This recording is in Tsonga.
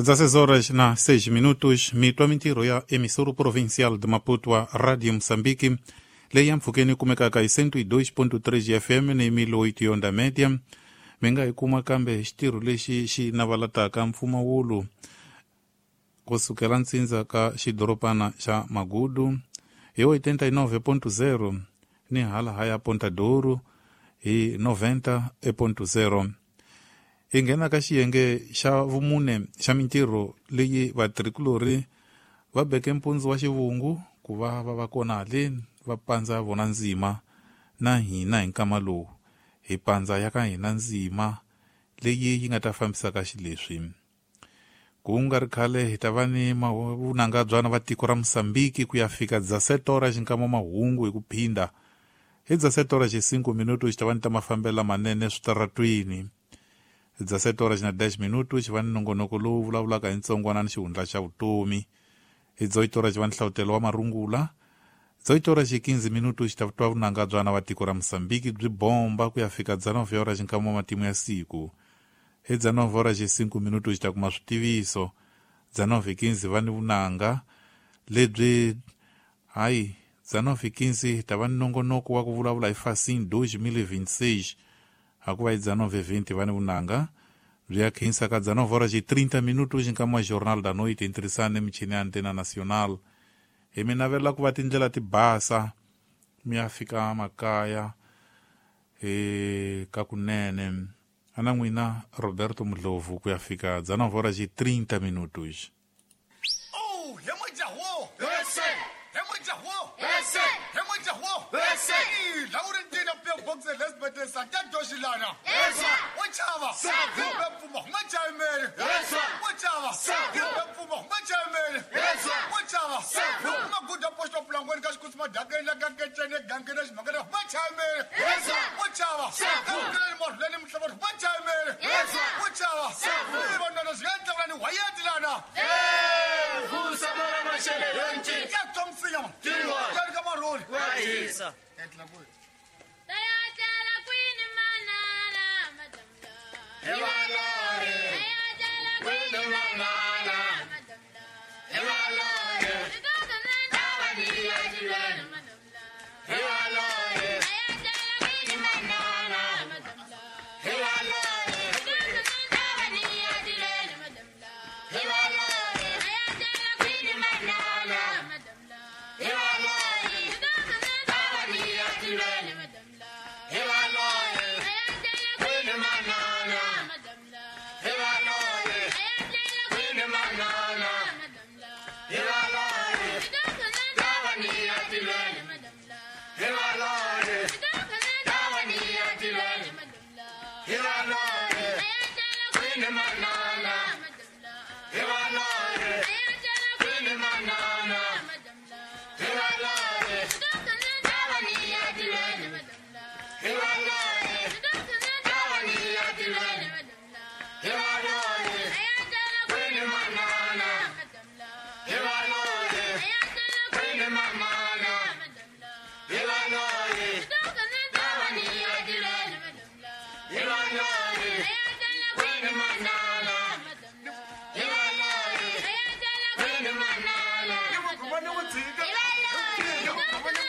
16 horas na 6 minutos, mitwa mintirho ya emissora provincial de Maputo a Rádio Moçambique, leyi ya mpfhukeni yi kumekaka hi 102.3 FM ni 1008 yonda média. Mi nga yi kuma kambe hi xitirho lexi xi navalataka mpfumawulo kusukela ntsindza ka xidorobana xa Magudu hi 89.0 ni hala haya Ponta Douro hi 90.0. Hi nghena ka xiyenge xa vumune xa mintirho leyi vatirhikulori va beke mpundzu wa xivungu ku va va va kona haleni va pandza vona ndzima na hina hi nkama lowu hi pandza ya ka hina ndzima leyi yi nga ta fambisaka xileswi. Ku nga ri khale hi ta va ni vunanga byana va tiko ra Mosambiki ku ya fika 17 horas nkama mahungu hi ku phinda. Hi 17 horas 5 minutos xi ta va ni ta mafambelo lamanene switaratwini. 17 horas na 10 minutos xi va ni nongonoko lowu vulavulaka hi ntsongwana ni xihundla xa vutomi. Hi 18 horas xi va ni hlavutelo wa marungula. 18 horas 15 minutos xi ta twa vunanga byana va tiko ra Mosambiki byi bomba ku ya fika 19 horas nkama matimu ya siku. Hi 19 horas 5 minutos xi ta kuma switiviso. 19:15 va ni vunanga lebyi hayi 19:15 ta va ni nongonoko wa ku vulavula hi Facin 2026. Hakuva hi 19:20 va ni vunanga byi ya khensa ka 19 horas 30 minutos nkama wa Jornal da Noite intirisane michini ya Antena Nacional. Hi mi navela ku va tindlela ti basa mi ya fika makaya ka kunene. Ana n'wina Roberto Mudlovu ku ya fika 19 horas 30 minutos. Oh, he Here I